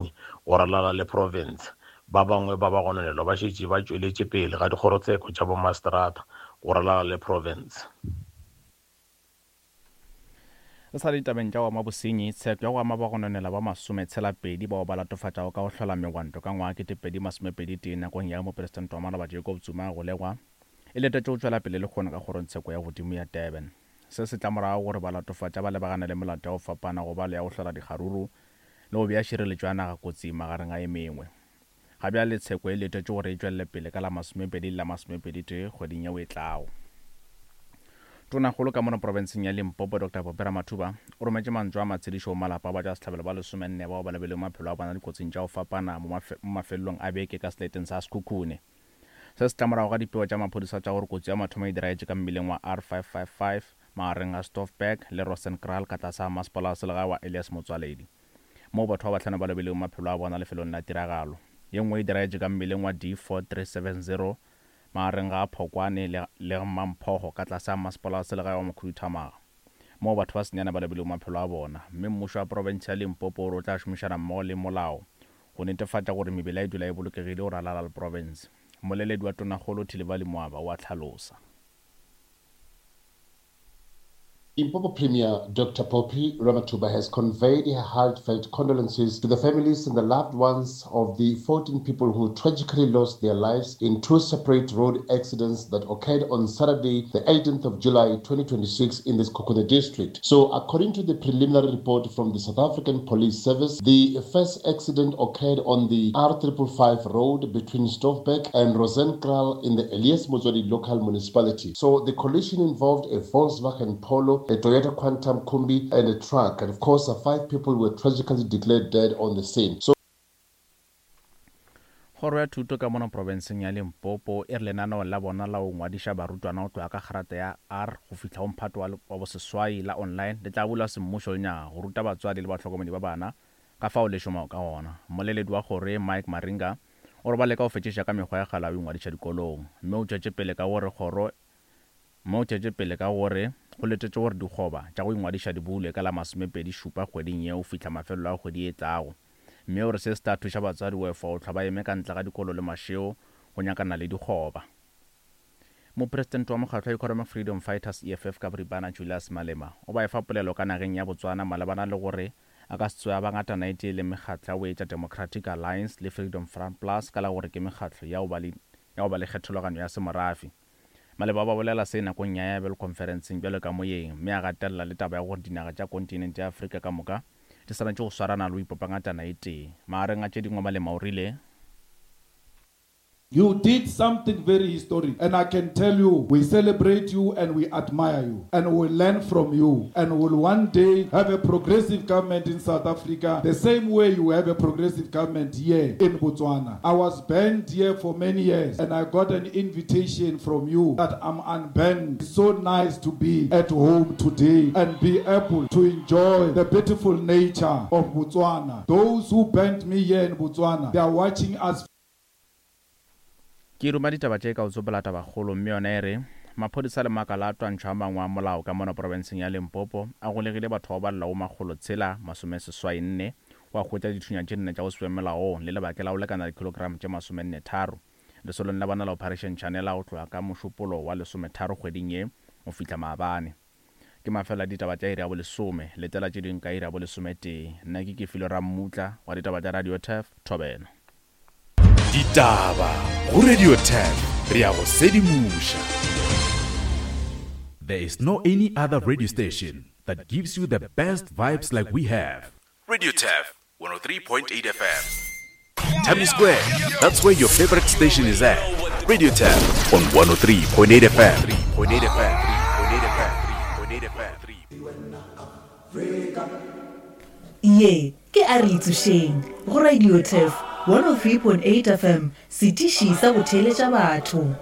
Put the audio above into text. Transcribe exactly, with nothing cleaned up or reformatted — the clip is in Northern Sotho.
Go ralala le profense. Ba bangwe ba bagononelwa ba šetše ba tšweletše pele ga dikgorotsheko tša bomaseterata go ralala le profense. Re sa le ditabeng tša go ama bosenyi, tsheko ya go ama bagononelwa ba masometshela-pedi bao ba latofatšago ka go hlola megwanto ka ngwaga ketepedi masomepedi tee nakong ya ge mopresidente wa maloba Jacob Zuma a golegwa, e letetše go tšwela pele lehono ka kgorongtsheko ya godimo ya Durban. Se se tla morago gore balatofatša ba lebagane le melato ya go fapana go ba le ya go hlola dikgaruru le go bea šireletšo ya naga kotsing magareng a e mengwe. Ga bjale tsheko e letetše gore e tšwelele pele ka la masomepedi le la masomepedi tee kgweding yeo e tlago. Tonakgolo ka mono profenseng ya Limpopo Doctor Phophi Ramathuba o rometše mantšu a matshedišo go malapa a batšwasehlabelo ba lesomenne bao ba lebilego maphelo a bona dikotsing tša go fapana mo mafelelong a beke ka seleteng sa Sekhukhune. Se se tla morago ga dipego tša maphodisa tša gore kotsi ya mathomo e diragetše ka mmileng wa R five five five magareng ga Stoffberg le Rosenkraal ka tlase ga masepala wa selegae wa Elias Motsoaledi, moo batho ba bahlano ba lobilego maphelo a bona lefelong la tiragalo. Ye nngwe e diragetše ka mmileng wa D four three seven zero magareng ga Phokwane le, le Mamphogo ka tlase ga masepala wa selegae wa Mokhuduthamaga, moo batho ba senyane ba lobilego maphelo a bona. Mme mmušo wa profense ya Limpopo o re o tla šomišana mmogo le molao go netefatša gore mebila e dula e bolokegile go ralala le profense. Mmoleledi wa Tonakgolo Thilivhali Mwaba o a hlalosa. Limpopo Premier Doctor Phophi Ramathuba has conveyed her heartfelt condolences to the families and the loved ones of the fourteen people who tragically lost their lives in two separate road accidents that occurred on Saturday, the eighteenth of July twenty twenty-six in the Sekhukhune district. So, according to the preliminary report from the South African Police Service, the first accident occurred on the R triple five road between Stoffberg and Rosenkraal in the Elias Motsoaledi local municipality. So, the collision involved a Volkswagen Polo, a Toyota Quantum Kombi, and a truck. And of course, uh, five people were tragically declared dead on the scene. So Kgoro ya thuto ka mono profenseng ya Limpopo e re lenaneo la bona la go ngwadiša barutwana go tloga ka kgrata ya R go fihla go mphato wa, wa boseswai la online le tla bulwa semmušo lenyaga go ruta batswadi le bahlokomedi ba bana ka fao le šomago ka gona. Mmoleledi wa kgoro ye Mike Maringa o re ba leka go fetšiša ka mekgwa ya kgale ya go ingwadiša dikolong, mme o tšwetše pele ka gore kgoro mme o tšwetše pele ka gore go letetše gore dikgoba tša go ingwadiša di bulwe ka la masomepedi šupa kgweding yeo fihla mafelelo a kgwedi e tlago. Mme o re se se tla thuša batswadi go efa go hlwa ba eme ka ntle ga dikolo le mašeo go nyakana le dikgoba. Mopresidente wa mokgatlo wa Economic Freedom Fighters E F F ka boripana Julius Malema o ba efa polelo ka nageng ya Botswana malebana le gore a ka se tsoge a ba ngatana e tee le mekgatlo ya go etša Democratic Alliance le Freedom Front Plus ka la gore ke mekgatlo ya go ba le ya go ba le kgethologanyo ya semorafe. Maleba ba bolela se nakong ya ya bjalo conferenceng bjalo ka moyeng, mme a gatelela le taba ya gore dinaga tša kontinente ya Afrika ka moka di swanetše go swarana le go ipopa ngatana e tee. Magareng a tše dingwe Malema o rile, You did something very historic, and I can tell you, we celebrate you and we admire you, and we learn from you, and we'll one day have a progressive government in South Africa, the same way you have a progressive government here in Botswana. I was banned here for many years, and I got an invitation from you that I'm unbanned. It's so nice to be at home today and be able to enjoy the beautiful nature of Botswana. Those who banned me here in Botswana, they are watching us. Ke ruma ditaba tše ka go tsopola tabakgolo, mme yona e re maphodisa le makala a twantšho a mangwe a molao ka mono profenseng ya Limpopo a golegile batho ba balelago makgolo tshela masome seswai nne wa hwetša dithunya tše nne tša go se be molaong le lebake la go lekana dikilogram tše masomenne tharo lesolong la bona la Operation Shanela go tloga ka mošupolo wa lesometharo kgweding ye go fihla maabane. Ke mafelo a ditaba tša iri ya bolesome, letela tše dingwe ka iri ya bolesometee. Nna ke Kefilo Rammutla wa ditaba tša Radio Turf, Thobela. Ditaba go Radio Turf, re ya go sedimoša. There is no any other radio station that gives you the best vibes like we have. Radio Turf one oh three point eight F M. Times Square, that's where your favorite station is at. Radio Turf on one oh three point eight F M. point eight F M. point eight F M. Ye ke a re itsošeng go Radio Turf one oh three point eight F M, setiši sa go theeletša batho.